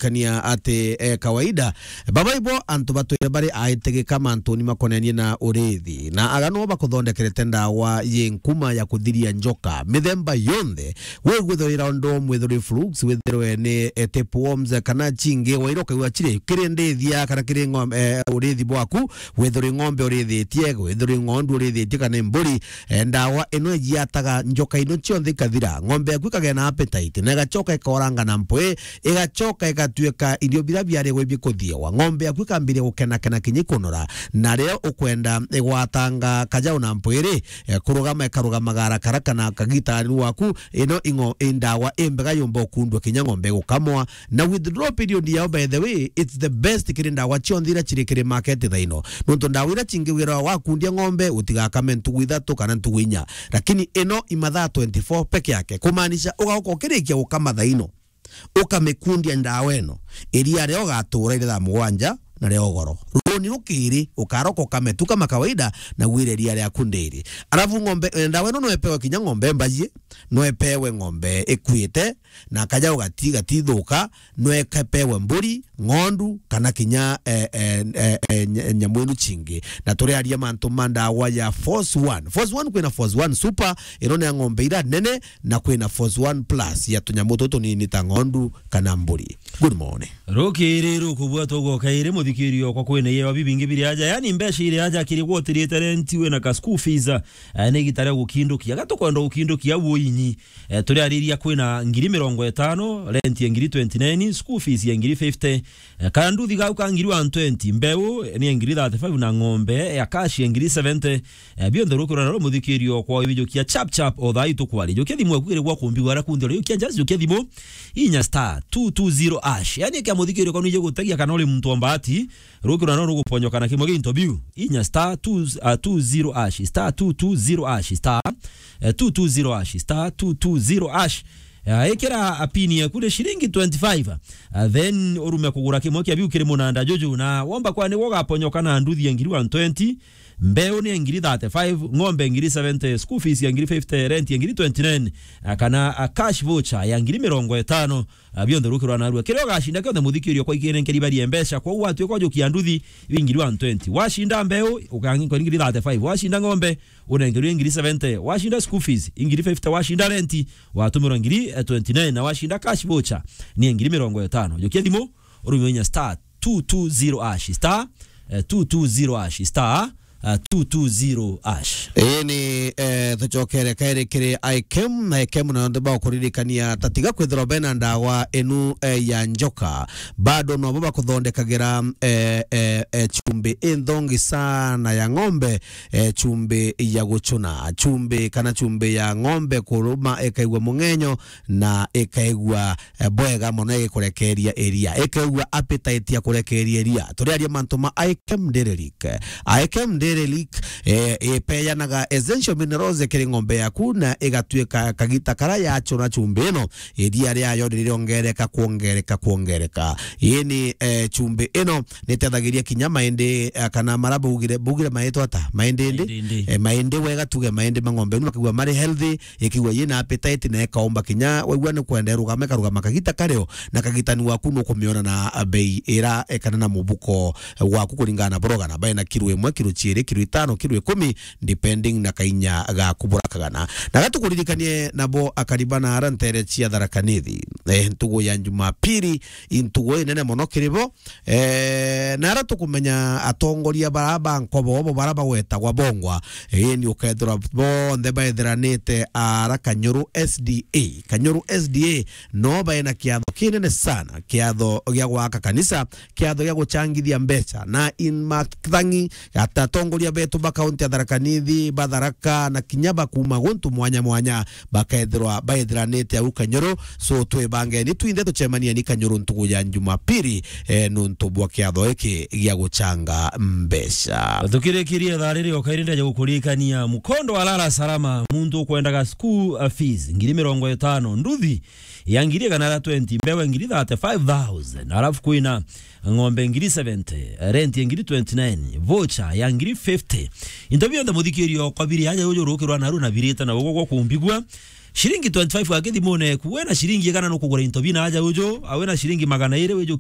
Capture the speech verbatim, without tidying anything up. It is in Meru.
kuririkania ati, eh, kawaida, baba ibo antu batwire bari aitigika mantuni makonenie na urithi, na aga no bakuthondekerete ndawa yi nkuma ya kuthiria njoka mithemba yonthe. We gwithirwa ira undu mwithirwe flukes, withirwe ni, eh, tapeworms, kana chingi, waira ukaigua chiri kiri ndithia kana kiri ng'om-, eh, urithi bwaku, withirwe ng'ombe urithitie, withirwe ng'ondu urithitie kana mburi, eh, ndawa ino ijiataga njoka ino cionthe ikathira. Ng'ombe yaku ikagea na appetite, na igachoka ikoranga na mpwi, igachoka igatuika irio bira biari gwi bikuthiawa. Ng'ombe yaku ikambiria gukenakena kinya ikunora, na riria ukwenda igwatanga kajau na mpwi ri, eh, kurugama ikarugamaga haraka haraka na kagita ni waku. Ino ing'o-, i ndawa imbega yumba ukundwa kinya ng'ombe igukamwa. Na withdrawal period yao, by the way, it's the best kiri ndawa cionthe ira chiri kiri market thaino. Nontu ndawa ira chingi wira wakundia ng'ombe, utigakame ntugu ithatu kana ntugu inya. Lakini ino imathaa twenty-four peke yake. Kumaanisha ugauka ukirikia gukama thaino, ukamikundia ndawa ino, iria rio ugatura iri thaa mugwanja na rio ugoro. Runi rukiri, ukaroka ukame tu kama kawaida, na gwire iria riaku ndiri. Alafu ng'ombe, eh, ndawa ino no ipewe kinya ng'ombe mbaji, no ipewe ng'ombe ikuite, na kajau gati-, gatithuka, no ikapewe mburi, ng'ondu, kana kinya, eh, eh, eh, eh, nya-, nyamu inu chingi. Na turiaria mantu ma ndawa ya Force One. Force One, kwina Force One Super, ino ni ya ng'ombe ira nene, na kwina Force One Plus ya tunyamu tutu tunini ta ng'ondu kana mburi. Good morning. Rukiri rukubua tugoka iri muthikiri okwa kwina yewa bibingi biri aja. Yani mbeca iri aja kiri gwotirite renti wina ka school fees, eh, ni gita ria gukindukia. Gatukwenda gukindukia winyi. Eh, turiariria kwina ngiri mirongo itano, rent ya ngiri twenty-nine, school fees ya ngiri fifty, eh, kana nduthi gau ka ngiri one twenty, mbeu ni ya ngiri thirty-five na ng'ombe ya cash ya ngiri seventy. Eh, bionthe rukirwa naro muthikiri okwa ibijukia chap chap o thaa itukwari. Jukia thimu ekwire gwa kumbi gwara kundi ori jukia just jukia thimu inya star two two zero hash. Yani kia muthikiri okwa nije gutagia kana uri muntu wa mbati, rukirwa naro ruguponyoka na kimwe gi interview. Inya star two, ah, two zero hash, star two two zero hash, star, eh, two two zero hash, star two two zero hash. Ah, ikira a pin yaku ni shilingi twenty-five. Ah, then urume kugura kimwe kia biu kiri munanda juju, na womba kwa nigwo ugaponyoka na nduthi ya ngiri one twenty, mbeu ni ya ngiri thirty-five, ng'ombe ngiri seventy, school fees ya ngiri fifty, rent ya ngiri twenty-nine, ah, kana, ah, cash voucher ya ngiri mirongo itano. Ah, bionthe rukirwa narua. Kiria ugashinda kionthe muthikiri okwa ikinenkeri barie mbeca, kwou watuika ujukia nduthi, iu ingiri one twenty. Washinda mbeu, ukanenkerwa ingiri thirty-five. Washinda ng'ombe, unenkerwa ingiri seventy. Washinda school fees, ingiri fifty. Washinda renti, watumirwa ngiri, eh, twenty-nine. Na washinda cash voucher, ni ingiri mirongo itano. Jukia thimu, urume inya star two two zero hash, star, eh, two two zero hash, star, ah, two two zero hash. Ii ni, eh, tucokere kairi kiri Ikem, na Ikem na onthe bakuririkania tatiga kwithirwa bena ndawa inu, eh, ya njoka. Bado nobo bakuthondekagira, eh, eh, eh, chumbi inthongi sana ya ng'ombe, eh, chumbi ya guchuna, chumbi kana chumbi ya ng'ombe kuruma ikaigua mung'enyo na ikaigua eh, bwega mono igikurekeria iria, ikaigua appetite ya kurekeria iria. Turiaria mantu ma Ikem Dairy Lick. Ikem Dairy Lick, eh, ipeanaga essential minerals kiri ng'ombe yaku na igatuika kagita kara yachuna chumbi ino, iria riayo ni ririongereka, kuongereka, kuongereka. Ii ni, eh, chumbi ino nitethagiria kinya maindi, eh, kana mara bugire, bugire maitwa ata? Maindi ndi? Maindi ndi. Eh, maindi wega tuge maindi ma ng'ombe inu makaigua mari healthy, ikigua yina appetite na ikaomba kinya waigua ni kwenda irugama, ikarugama kagita kario, na kagitani waku nukumiona na bei ira, eh, kana na mubuko, eh, waku kuringana na burogana, bae na kiro imwe, kiro chiiri, kiro itano, kiro ikumi, depending na kainya gaku burakagana. Na gatukuririkanie nabo akariba na ara ntere cia Tharaka Nithi, eh, ntugu ya Jumapili, i ntugu inene mono kiri bo, Eh, na ara tukumenya atongoria bara ba nkobo bo bara bagwetagwa bongwa, eh, ni ukethirwa bonthe baethiranite ara Kanyuru S D A. Kanyuru S D A no baena kiatho kinene sana, kiatho gia gwaka kanisa, kiatho gia guchangithia mbeca, na in mathangi ata atongoria betu ba kaunti ya Tharaka Nithi, ba Tharaka, na kinya ba kuma guntu mwanya mwanya, bakethirwa baethiranite au Kanyuru. So, twibangeni twinthe tucemanieni Kanyuru ntugu ya Jumapili, eh, nuntu bwa kiatho giki gia guchanga mbeca. Tukirikirie thaa riri o kairi ndaja gukuririkania mukondo wa Lala Salama, muntu ukwendaga school, uh, fees, ngiri mirongo itano, nduthi ya ngiri igana ria twenty, mbewe ngiri thirty-five thousand, alafu kwina ng'ombe ngiri seventy, rent ya ngiri twenty-nine, voucher ya ngiri fifty. Into bionthe muthikiri okwa biri aja uju rukirwa naru na birite na ugo gwa kumbigua. Ciringi twenty-five wa kithimune eku, we na ciringi igana nukugura into bina aja uju, awe na ciringi magana iri wiju